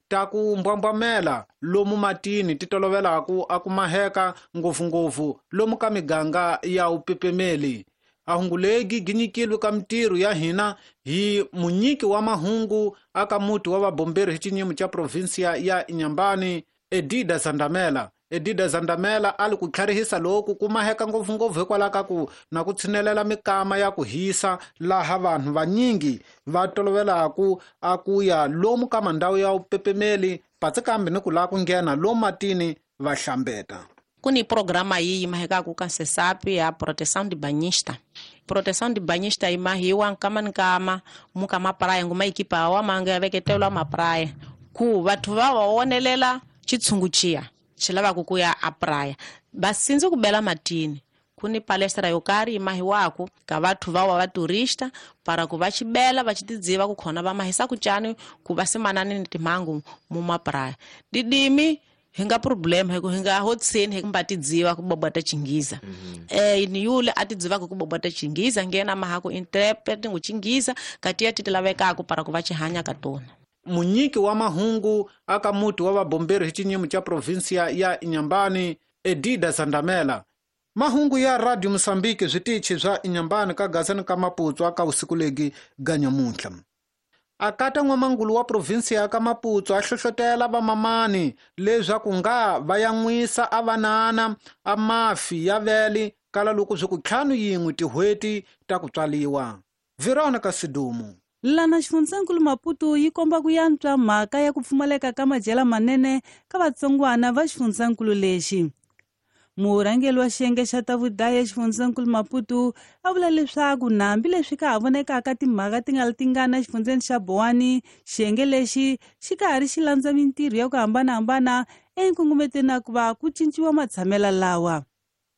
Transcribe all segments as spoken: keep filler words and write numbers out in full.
Ta ku mbwambwamela lomu matini ti tolovelaku a ku maheka ngopfungopfu lomu ka miganga ya upepemeli. Ahungulegi ginyikilwe ka mitirho ya hina hi munyiki wa mahungu aka muti wa vabomberi hi xinyimo xa provinsia ya Inhambane, Edida Zandamela. Edida Zandamela ali ku tlharihisa loku ku maheka ngopfungopfu hikwalaho ka ku na ku tshinelela mikama ya ku hisa laha vanhu vanyingi va tolovelaku a ku ya lomu ka mandhawu ya upepemeli patsi kambe ni ku lava ku nghena lomu matini va hlambeta. Ku ni programa yi yi mahekaku ka SESAP ya proteção de banhista. Proteção de banhista yi mahiwa nkama ni nkama muka mapraia nguma ekipa wa manga ya veketelwa mapraia ku vathu va va wonelela xitshungu xiya xi lavaka ku ya a praia va sindzi ku bela matini. Ku ni palestra yo karhi yi mahiwaku ka vathu va wa va turista para ku va xibela va xi tidziva ku khona va mahisa ku cani ku va simanani ni timhangu mu mapraia. Didimi hi nga problem hi ku hi nga hotsini hi kumba tidziva ku bobota Chingiza. Eh ni yule a tidziva ku bobota Chingiza ngena maha ku interpret ngu Chingiza kati ya tilavekaku para ku va xihanya ka tona. Munyiki wa mahungu aka muti wa vabomberi hi xinyimo xa provinsia ya Inhambane, Edida Zandamela. Mahungu ya Radio Mozambique switichi swa Inhambane ka Gaza ka Maputo aka usiku legi ganyamuntlha. Akata n'wamangulu wa provinsia ya ka Maputo a hlohlotela vamamani leswaku nga va yan'wisa a vanana a mafi ya vele kala loko swi ku ntlhanu yin'we tin'hweti ta ku tswaliwa. Veronica Sidumo. Lana xifundzankulu Maputo yi komba ku yantswa mhaka ya ku pfumaleka ka madyela manene ka vatsongwana va xifundzankulu lexi. Murhangeri wa xiyenge xa ta vudaya xifundzankulu Maputo a vula leswaku nambi leswi ka ha vonekaka timhaka ti nga ri tingana exifundzeni xa Boane, xiyenge lexi xi ka ha ri xi landza mintirho ya ku hambanahambana enkungumetweni na ku va ku cinciwa matshamelo lawa.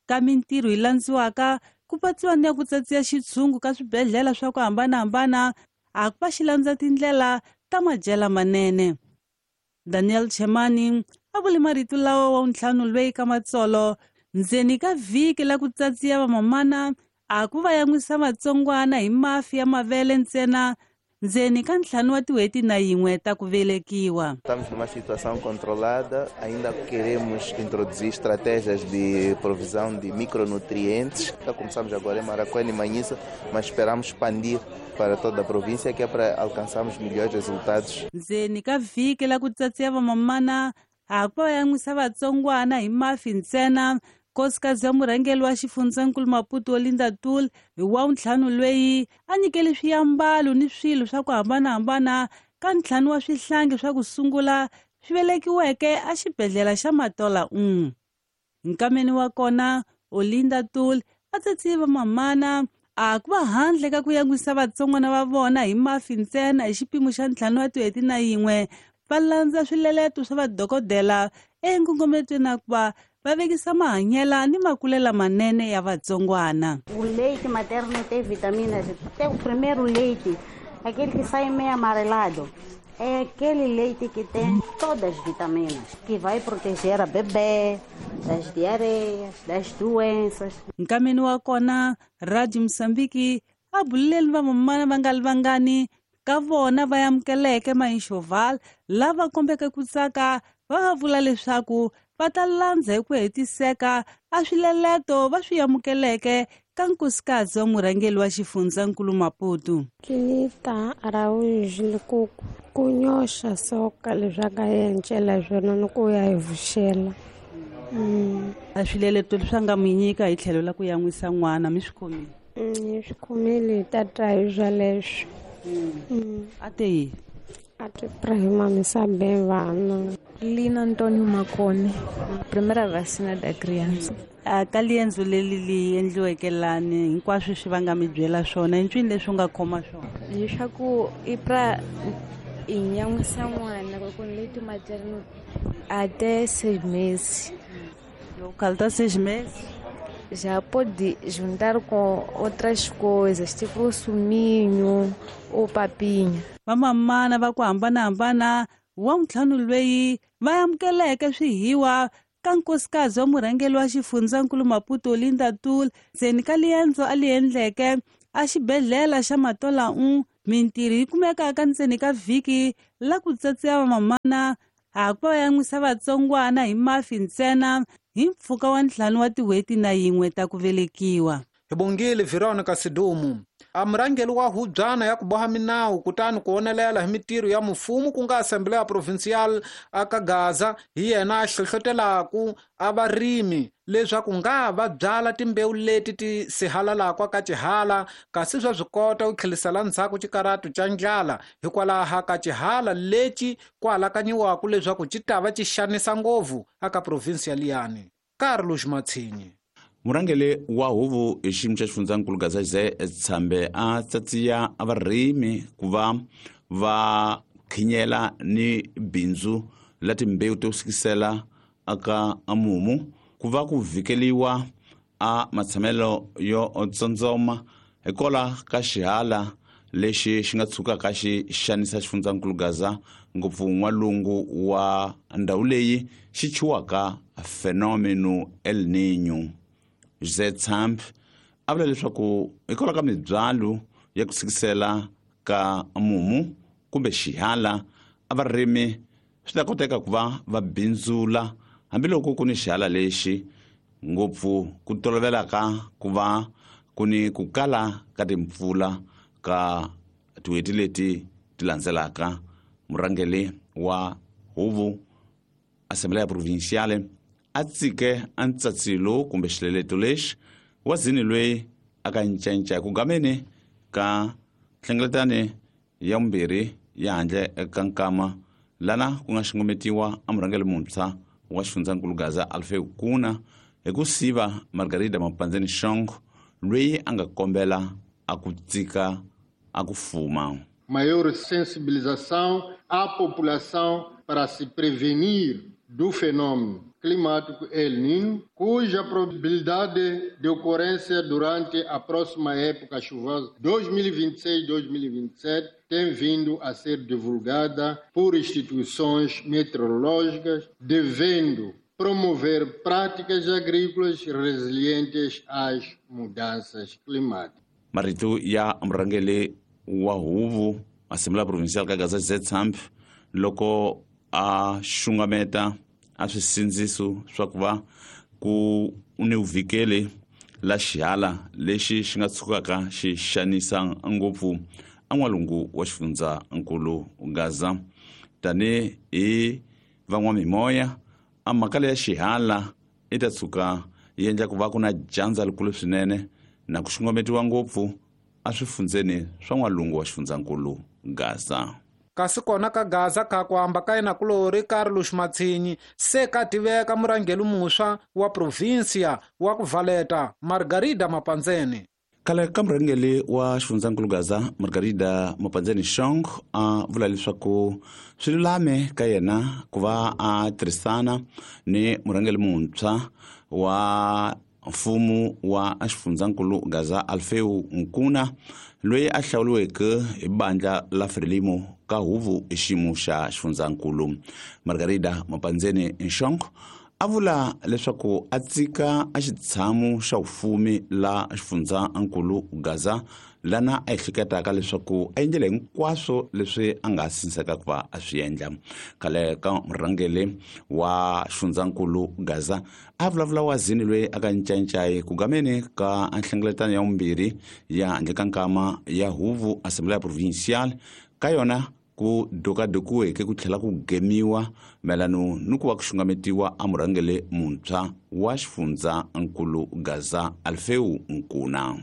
Ka mintirho yi landziwaka ku patsiwa ni ya ku tsatsiya xitshungu ka swibedhlele swa ku hambanahambana a ku va xi landza tindlela ta madyela manene. Daniel Chemani a vule marito lawa wa ntlhanu lweyi ka matsolo ndzeni ka vhiki la ku tsatsiya vamamana a ku va yan'wisa vatsongwana hi mafi ya mavele ntsena ndzeni ka ntlhanu wa tin'hweti na yin'we ta ku velekiwa. Estamos numa situação controlada, ainda queremos introduzir estratégias de provisão de micronutrientes. Começamos agora em Maracuene e Manhissa, mas esperamos expandir para toda a província, que é para alcançarmos melhores resultados. Ndzeni ka vhiki la ku tsatsiya vamamana a ku va yan'wisa vatsongwana hi mafi ntsena. Nkosikazi wa murhangeri wa xifundzankulu Maputo Olinda Tul hi wa ntlhanu lweyi a nyikele swiambalo ni swilo swa ku hambanahambana ka ntlhanu wa swihlangi swa ku sungula swi velekiweke exibedhlele xa Matola un. Nkameni wa kona Olinda Tul a tsatsiye vamamana a ku va handle ka ku yan'wisa vatsongwana va vona hi mafi ntsena hi xipimo xa ntlhanu wa tin'hweti na yin'we va landza swileleto swa vadokodela enkungumetweni na ku va va vekisa mahanyela ni makulela manene ya vatsongwana. O leite materno tem vitaminas. Tem o primeiro leite, aquele que sai meio amarelado. É aquele leite que tem todas as vitaminas, que vai proteger a bebê das diarreias, das doenças. Nkameni wa kona Radio Mozambique a buleli vamamana va nga li vangani ka vona va amukeleke mainxoval lava kombeke ku tsaka va va vula leswaku va ta landza hi ku hetiseka a swileleto va swi amukeleke ka nkosikazi wa murhangeri wa xifundzankulu Maputo. Kinita Araújo ku ku nyoxa soka leswaku a encela swona ni ku ya hi vuxela. A swileleto leswi a nga mi nyika hi tlhelo la ku yan'wisa n'wana mi swi khomile? Hi swi khomile hi ta twa hi swoleswo. A te yini? A te pra bem vana. Lina Antônio Macone, primeira vacina da criança. A ka liendzo leri li endliweke lani hinkwaswo swi va nga mi byela swona i ncwini leswi u nga khoma swona? Leswaku i pra i nyan'wisa n'wana ku leite materno até seis meses. Local seis meses? Já pode juntar com outras coisas, tipo suminho ou papinha. Vamamana va ku hambanahambana wa ntlhanu lweyi va amukeleke swihiwa ka nkosikazi wa murhangeri wa xifundzankulu Maputo Olinda Tul ndzeni ka liendzo a li endleke a xibedhlele xa Matola un Mintirho yi kumeka ka ntseni ka vhiki la ku tsatsiya vamamana a ku va yan'wisa vatsongwana hi mafi ntsena hi mpfhuka wa ntlhanu wa tin'hweti na yin'we ta ku velekiwa. Hi bongile Veronica Sidumu. A murhangeri wa hubyana ya ku boha minawu kutani ku onelela hi mitirho ya mfumo ku nga Assembleia Provincial aka Gaza hi yena a hlohlotelaku a varimi leswaku nga va byala timbewu leti ti sihalalaka ka xihala kasi swa swi kota ku tlhelisela ndzhaku xikaratu xa ndlala hikwalaho ka xihala lexi ku alakanyiwaka leswaku xi ta va xi xanisa ngopfu aka province liyani. Carlos Matsinyi. Murhangeri wa huvo hi xiyimo xa xifundzankulu Gaza Jose Tshambe a tsatsiya varimi ku va va khinyela ni bindzu la timbewu to sikisela aka mumu ku va ku vhikeliwa a matshamelo yo tsondzoma hikola ka xihala lexi xi nga tshukaka xi xanisa xifundzankulu Gaza ngopfu n'walungu wa ndhawu leyi xi chiwaka fenomeno El Niño. Jose Tshambe a vula leswaku hikwalaho ka mibyalo ya ku sikisela ka mumu kumbe xihala a varimi swi ta koteka ku va va bindzula hambiloko ku ni xihala lexi ngopfu ku tolovelaka ku va ku ni ku kala ka timpfula ka tin'hweti leti ti landzelaka. Murhangeri wa huvo Assembleia Provinciale a tsike a ntsatsilo kumbe xileleto lexi wa zini loyi a ka ncanca ku gameni ka nhlengeletano ya vumbirhi ya handle ka nkama lana ku nga xungumetiwa a murhangeri muntshwa wa xifundzankulu Gaza Alfeu Kuna hi ku siva Margarida Mapandzeni Shongo loyi a nga kombela a ku tsika a ku fuma. Maior sensibilização à população para se prevenir do fenômeno climático El Niño, cuja probabilidade de ocorrência durante a próxima época chuvosa dois mil e vinte e seis dois mil e vinte e sete tem vindo a ser divulgada por instituições meteorológicas, devendo promover práticas agrícolas resilientes às mudanças climáticas. Marito ya murhangeri wa huvo Assembleia Provincial ka Gaza Jose Tshambe loko a xungameta a swisindziso swa ku va ku ni vhikeli la xihala lexi xi nga tshukaka xi xanisa ngopfu a n'walungu wa xifundzankulu Gaza. Tani hi van'wamimoya a mhaka leya xihala i ta tshuka yi endla ku va ku na dyandza likulu swinene na ku xungumetiwa ngopfu a swifundzeni swa n'walungu wa xifundzankulu Gaza. Kasi kona ka Gaza ka ku hamba ka yena kulori Carlos Matsinyi se ka tiveka murhangeri muntshwa wa provinsia wa ku Valeta Margarida Mapandzeni. Khale ka murhangeri wa xifundzankulu Gaza Margarida Mapandzeni Shong a vula leswaku swi lulame ka yena ku va a tirhisana ni murhangeri muntshwa wa mfumo wa xifundzankulu Gaza Alfeu Nkuna loyi a hlawuriweke hi bandla la Frelimo ka huvo hi xiyimo xa xifundzankulu. Margarida Mapandzeni Nshongo a vula leswaku a tsika a xitshamo xa vufumi la xifundzankulu Gaza lana a ehleketaka leswaku a endlile hinkwaswo leswi a nga sinseka ku va a swi endla. Khale ka murhangeri wa xifundzankulu Gaza a vulavula wa zini loyi a ka ncancayi ku gameni ka nhlengeletano ya vumbirhi ya handle ka nkama ya huvo Assembleia Provincial ka yona ku dokadokiweke ku tlhela ku gemiwa mayelano ni ku va ku xungametiwa a murhangeri muntshwa wa xifundzankulu Gaza Alfeu Nkuna.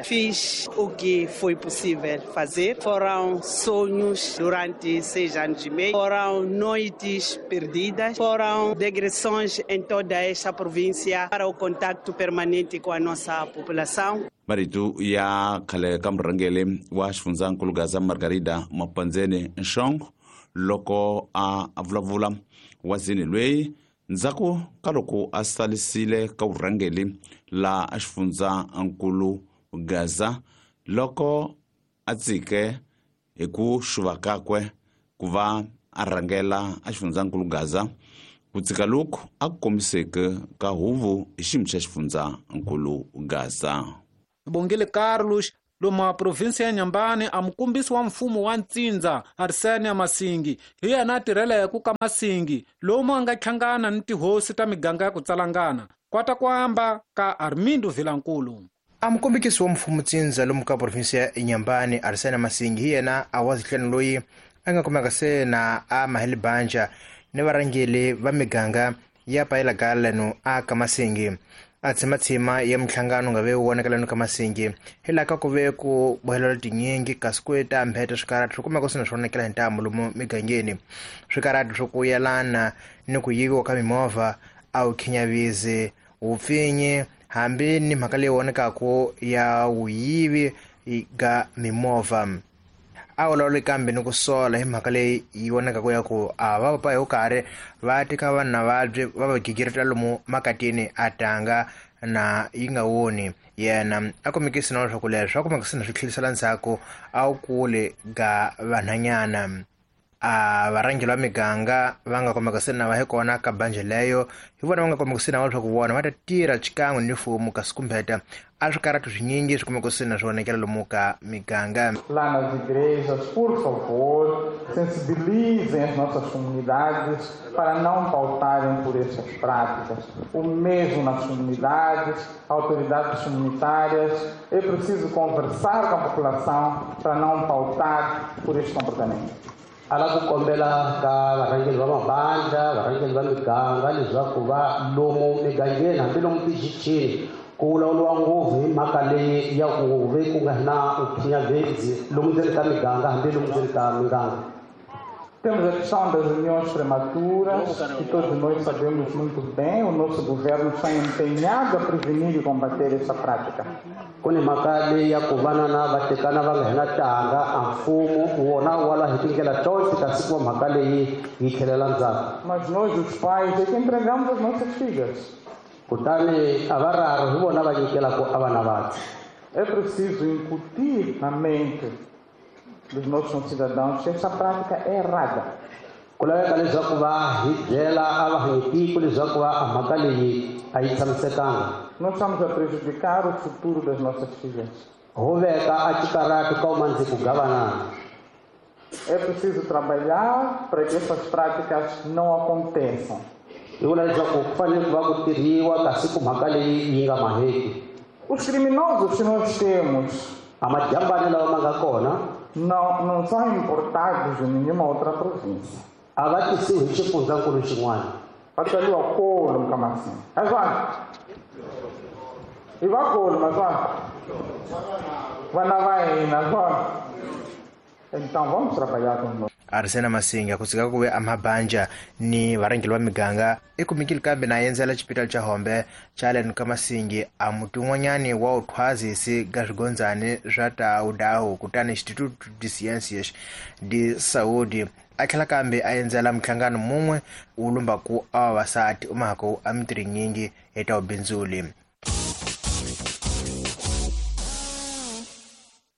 Fiz o que foi possível fazer. Foram sonhos durante seis anos e meio, foram noites perdidas, foram digressões em toda esta província para o contato permanente com a nossa população. Marito ya khale ka murhangeri wa xifundzankulu Gaza Margarida Mapandzeni Nshongo loko a vulavula wa zini loyi ndzhaku ka loko a salisile ka vurhangeri la xifundzankulu Gaza loko a tsike hi ku xuva kakwe ku va a rhangela a xifundzankulu Gaza ku tsika loku a ku kombiseke ka huvo hi xiyimo xa xifundzankulu Gaza. Bongile Carlos Lomu a provinsi ya Nyambani a mukumbisi wa mfumo wa Ntsindza Arsenia Masingi hi yena a tirheleke ka Masingi lomu a nga hlangana ni tihosi ta miganga ya ku tsalangana kwata ku amba ka Armindo Vilankulu. A mukombekisi wa mfumo Ntsindza lomu ka provinsi ya Nyambani Arsenia Masingi hi yena a wa zihlanu loyi a nga kumeka se na a maheli banja ni varhangeli va miganga ya payelaka a ka Masingi. A tshimatsima ya minhlangano nga ve vonakela ka Masingi hi laha ka ku ve ku bohelela tinyingi kasi ku ta mbheta swikarati swi kumeka swi na swi vonakela hi ntamu lomu migangeni. Swikarati swo ku yelana ni ku yiviwa ka mimovha a wu khinyavisi wupfinyi hambi ni mhaka leyi vonakaku ya wuyivi ga mimovha. A vulavuli kambe ni ku sola hi mhaka leyi yi vonakaka ya ku a va papa hi karhi va teka vanhu na vabyi va va gigirita lomu makatini a tanga na yi nga woni yena a kumekisi na leswaku leswi a kumekisi na swi tlhelisela ndzhaku a wu kule ga vanhanyana. A varhangeri va miganga va nga kumeka se na va hi kona ka banje leyo hi vona va nga kumeka se na leswaku vona va ta tirha xikan'we ni mfumo kasi kumbeta a swikarati swinyingi swi kumeka se na swi vonakela lomu ka miganga. Lá nas igrejas, por favor, sensibilizem as nossas comunidades para não pautarem por essas práticas. O mesmo nas comunidades, autoridades comunitárias, é preciso conversar com a população para não pautar por este comportamento. Ala ku kombela ka varhangeri va mabandla, varhangeri va miganga leswaku va lomu migangeni hambi lomu tixichini ku vulavuriwa ngopfu hi mhaka leyi ya ku ve ku nga na uphinyavhedzi lomu ndzeni ka miganga hambi lomu ndzeni ka miganga. Temos a questão das uniões prematuras, que todos nós sabemos muito bem, o nosso governo está empenhado a prevenir e combater essa prática. Ku ni mhaka leyi ya ku vana na va tekana va nga hina tanga a mfumo wona wala hi tindlela tonke kasi ku mhaka leyi yi tlhelela ndzhaku. Mas nós, os pais, é que entregamos as nossas filhas. Kutani a va raro hi vona va nyikelaka a vana vathu. É preciso incutir na mente dos nossos cidadãos que essa prática é errada. Ku laveka leswaku va hi byela a va hanyitiko leswaku va a mhaka leyi a yi tshamisekanga. Nós estamos a prejudicar o futuro das nossas filhas. Ho veka a xikarati ka umandzi ku gavanana. É preciso trabalhar para que essas práticas não aconteçam. Hi vula leswaku ku fanele ku va ku tirhiwa kasi ku mhaka leyi yi nga maheki. Os criminosos que nós temos, a majambani lawa ma nga kona, não, não são importados de nenhuma outra província. A va tisiwi hi xifundzankulu xin'wana. Va tswariwa kolo ka Masingi. Azwana. I va kolo mazwana. Vana va hina azwana. Então vamos trabalhar com nós. Arsena Masinga ku tsika ku ve a mabanja ni varhangeri va miganga i kumekile kambe na endzela xipitali xa Hombe xa le ka Masingi a muti wun'wanyani wa wuthwazisi ga swigondzani swa ta wudawu kutani Instituto de Ciências de Saúde a tlhela kambe a endzela minhlangano mun'we wu lumbaku a vavasati u mahako a mintirho yinyingi hi ta vubindzuli.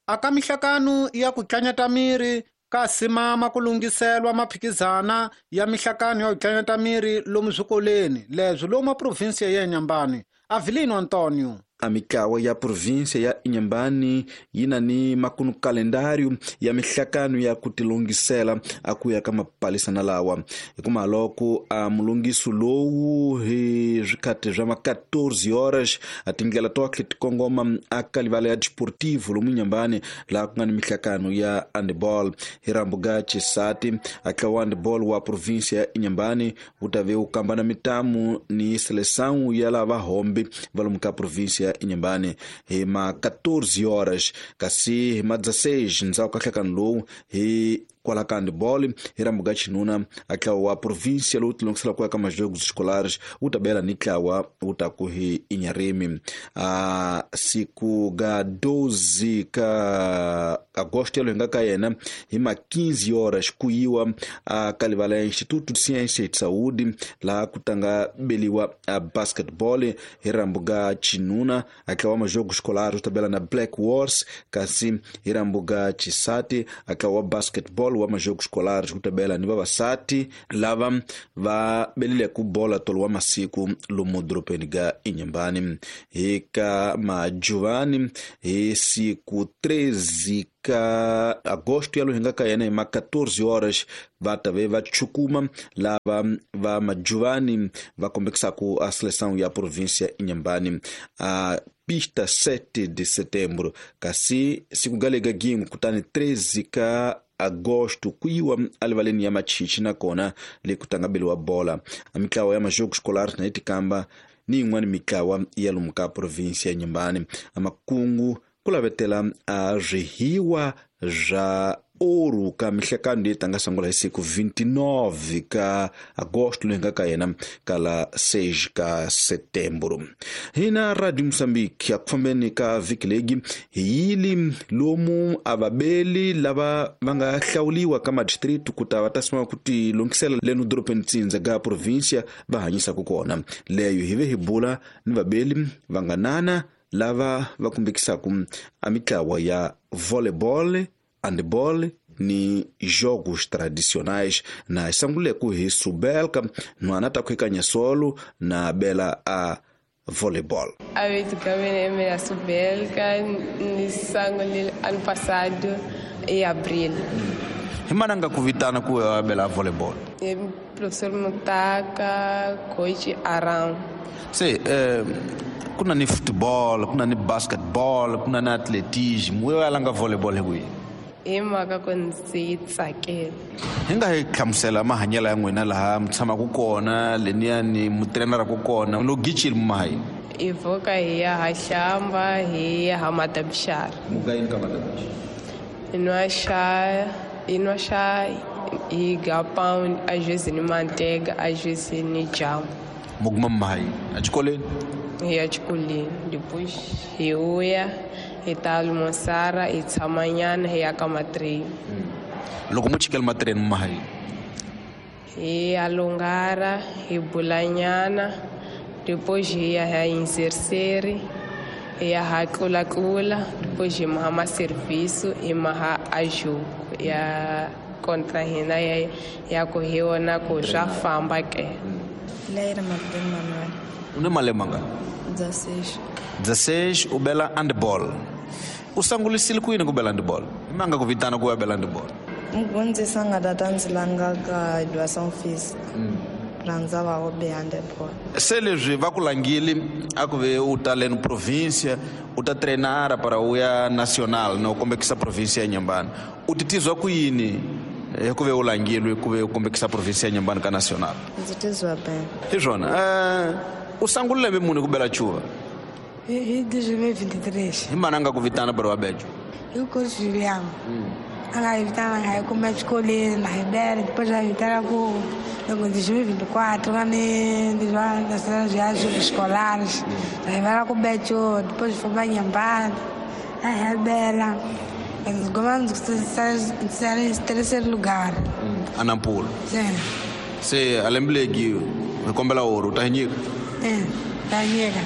Aka mihlakano ya ku tlanyata miri ka simama ku lunghiselwa maphikizana ya mihlakano ya ku tlanyata miri lomu swikolweni leswi lomu provinsi ya Inhambane. Avelino Antonio. A mitlawa ya província ya Inhambane yi na ni makunu kalendário ya mihlakano ya ku tilungisela a ku ya ka mapalisana lawa hikuma loko a mulungiso lowu hi swikhati swa ma quatorze horas a tindlela to ti kongoma a ka livala ya desportivo lomu Inhambane laha ku nga ni mihlakano ya handball hi rambuga Chisati a tlawa handball wa província ya Inhambane wu ta ve wu kambana mitamu ni seleção ya lava hombe va lomu ka província Inhambane hi ma quatorze horas kasi hi ma dezesseis ndzhaku ka nhlekano lowu hi kwala ka handball hi rambuga xinuna a tlawa wa província lowu tilungisela ku ya ka majogos escolares wu ta bela ni tlawa wu ta ku hi Inharime a siku ga doze ka agosto yalo hi nga ka yena hi ma quinze horas ku yiwa a ka livala ya Instituto de Ciência e de Saúde laha ku tanga beliwa a basketball hi rambuga xinuna a tlawa majogos escolares wu ta bela na Black Wars kasi hi rambuga Chisati a tlawa basketball volleyball wa majogos escolares ku tabela ni vavasati lava va belile ku bola tolo wa masiku lomu doropeni ga Inhambane. Hi ka majuvani hi siku treze ka agosto ya lohinga ka yena hi ma quatorze horas va ta ve va chukuma lava va majuvani va kombekisaku a seleção ya província Inhambane a pista sete de setembro, kasi siku galega gingu kutani treze ka agosto kuyiwa alivaleni ya machichi nakona le kutangabeliwa bola. A mitlawa ya majogo escolar na itikamba ni yin'wana mitlawa ya lomu ka província ya Inhambane. A makungu ku lavetela a swihiwa swa ouro ka mihlekano leyi tanga sungula hi siku vinte e nove ka agosto loyi nga ka yena kala seis ka setembro. Hina Radio Moçambique a ku fambeni ka vhiki legi hi yili lomu a vabeli lava va nga hlawuliwa ka madistritu ku ta va ta sima ku ti lunghisela leno doropeni tsindza ka província va hanyisaka kona. Leyo hi ve hi bula ni vabeli va nga nana lava va kumbekisaka a mitlawa ya volleyball, handball ni jogos tradicionais. Na sanguleku hi subelka nwana ta kuikanya solo na bela a volleyball. A vez que eu me subelka ni sangule ano passado em abril. Himananga kuvitana ku bela volleyball. E professor Mutaka, coach Aram. Sim, eh, kuna ni futebol, kuna ni basketball, kuna ni atletismo, eu alanga volleyball hi hi mhaka ku ndzi yi tsakela. Hi nga hi hlamusela mahanyelo ya n'wina laha mi tshamaka kona leniyani mu treneraku kona lo gichile mumahayi? Hi pfuka hi ya ha hlamba hi ya ha matabixara. Muka yini ka matabixara? Hi nwa xa hi nwa xa hi ga pound a vezes ni mantega a vezes ni jamu. Mu kuma mumahayi exikolweni? Hi ya xikolweni depois hi vuya hi ta almoçar hi tshama nyana hi ya ka matreni. Loko mu chikela matreni mumahayi? Hi ya lungara hi bula nyana depois hi ya hi inserseri hi ya ha tlulatlula depois hi maha maserviço hi maha a jogo ya contra hina ya ya ku hi wona ku swa famba ke. Leira Martin Manuel. U ni malembe mangani? dezesseis. dezesseis u bela handball. U sangulisile ku yini ku bela handball? I manga ku vitana ku ya bela handball? Mugondzisa nga tata ndzi langa ka educação física. Rhandza va wo be handball. Se leswi va ku langile a ku ve u ta leno província, u ta treinara para u ya nacional no kombekisa província ya Inhambane. U titizwa ku yini hi ku ve u langile ku ve u kombekisa província ya Inhambane ka nacional? Ndzi tizwa bem. Hi swona. Eh, u sungule lembe muni ku bela chuva? Hi dois mil e vinte e três. Hi mananga ku vitana para wa bejo? Hi coach Juliano. A nga hi vitana nga hi kuma exikolweni na hi bela depois a hi vitana ku loko dois mil e vinte e quatro nga ni nacional ya jogos escolares. Hi vela ku bejo depois fomos Inhambane. A hi bela. Gomamos terceiro lugar. Anampula. Sim. Se a lembe legi hi kombela ouro u ta hi nyika? É, ta nyika.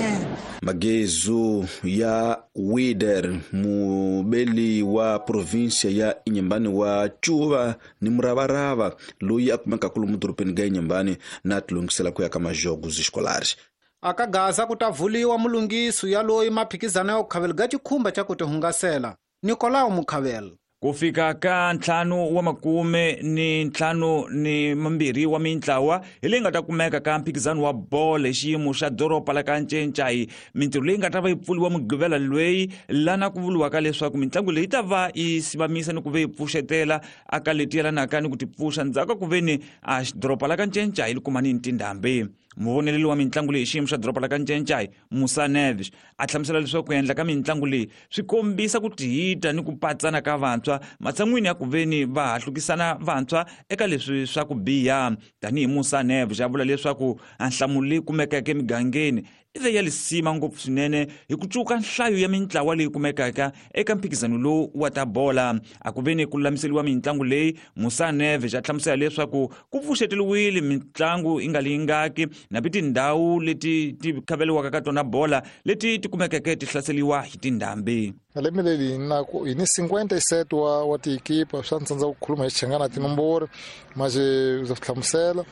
É. Magezu ya Wider mubeli wa província ya Inhambane wa Chuva ni muravarava loyi a kumeka kulu doropeni ga Inhambane na tilungisela ku ya ka majogos escolares. Aka Gaza ku ta vuliwa mulungiso ya loyi maphikizano ya ku khavela ga xikhumba xa ku tihungasela Nicolau Mukhavela. Ku fika ka ntlhanu wa makume ni ntlhanu ni mambirhi wa mintlawa hi leyi nga ta kumeka ka mphikizano wa bolo hi xiyimo xa doroba la ka Ncencai. Mintirho leyi nga ta va yi pfuriwa mugqivela loyi lana ku vuriwaka leswaku mitlangu leyi ta va yi sivamisa ni ku ve yi pfuxetela aka leti yelanaka ni ku ti pfuxa ndzhaku ka ku ve ni a doroba la ka Ncencai li kuma ni tindhambi. Muvoneleli wa mitlangu leyi xiyimo xa doroba la ka Ncencai Musa Neves a hlamusela leswaku ku endla ka mitlangu leyi swi kombisa ku tihita ni ku patsana ka vantshwa matshan'wini ya ku veni va hahlukisana vantshwa eka leswi swa ku biha. Tanihi Musa Neves a vula leswaku a nhlamulo leyi kumekeke emigangeni i ve ya lisima ngopfu swinene hi ku cuka nhlayo ya mintlawa leyi kumekaka eka mphikizano lowu wa ta bola. A ku ve ni ku lulamiseliwa mitlangu leyi, Musa Neves a hlamusela leswaku ku pfuxeteliwile mitlangu yi nga lingaki na pi tindhawu leti ti khaveliwaka ka tona bola leti ti kumekeke ti hlaseliwa hi tindhambi. Lembe leri na ku hi ni cinquenta e sete wa wa tiekipa swa ndzi ku khuluma hi Xichangana tinomboro mas ndza hlamusela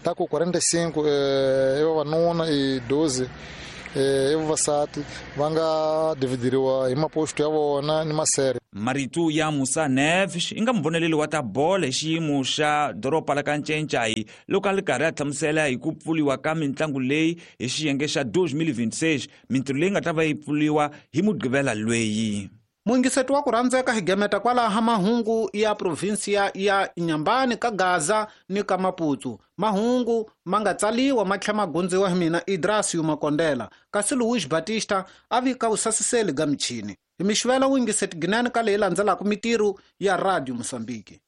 ta ku quarenta e cinco eh, i vavanuna i doze eh, i vavasati va nga dividiriwa hi maposto ya vona ni masere. Marito ya Musa Neves i nga muvoneleli wa ta bola hi xiyimo xa doroba la ka Ncencai loko a ri karhi a hlamusela hi ku pfuriwa ka mitlangu leyi hi xiyenge xa dois mil vinte e seis, mintirho leyi nga ta va yi pfuriwa hi Mugqivela lweyi. Muingiseti wa ku rhandzeka hi gemeta kwalaha mahungu ya provinsia ya Inhambane ka Gaza ni ka Maputo. Mahungu ma nga tsaliwa ma tlhela ma gundziwa hi mina Idrasio Makondela, kasi Luis Batista a vika vusasiseli ga michini. Hi mixivela wuyingiseti ginani ka leyi landzelaka mitirho ya Radio Mozambique.